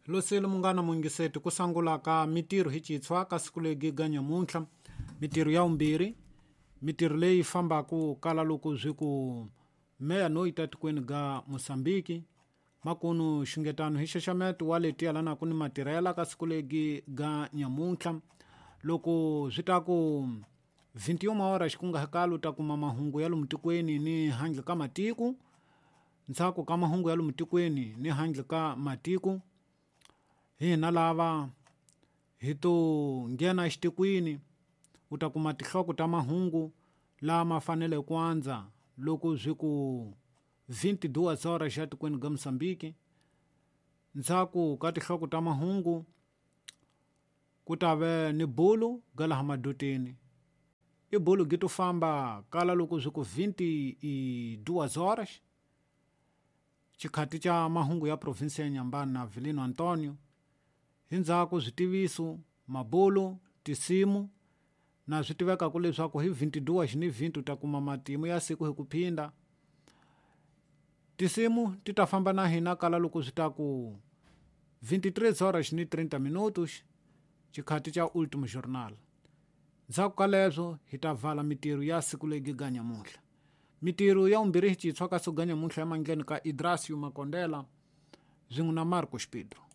Losile munghana muyingiseti ku sangula ka mitirho hi xitshwa ka siku legi ga nyamuntlha mitirho ya vumbirhi mitirho leyi fambaka kala loko swi ku meya no yi ta tikweni ga Mosambiki makunu xungetano hi xaxameto wa leti yalanaku ni matirhela ka siku legi ga nyamuntlha loko swi ta ku 21 hora xikungahakalo u ta kuma mahungu ya lomu tikweni ni handle ka matiko ndzhaku ka mahungu ya lomu tikweni ni handle ka matiko hina lava hi to nghena exitikwini u ta kuma tinhloko ta mahungu lama fanele ku andza loko swi ku 22 horas xa tikweni ga Mozambique ndzhaku ka tinhloko ta mahungu ku ta ve ni bulu ga laha madoteni i bulu gi to famba kala loko swi ku 22 horas xikhati xa mahungu ya provinsi ya Nyambani na Vilino Antonio hi ndzhaku switiviso mabulu tisimu na swi tivekaka leswaku hi 22 ni 20 u ta kuma matimu ya siku hi ku phinda tisimu ti ta famba na hina kala loko swi ta ku 23 horas ni 30 minutos xikhati xa Ultimo Journal ndzhaku ka leswo hi ta vala mitirho ya siku legi ga nyamuntlha mitirho ya vumbirhi hi xitshwa ka siku ga nyamuntlha ya mandleni ka Idrasio Makondela swin'we na Marcos Pedro.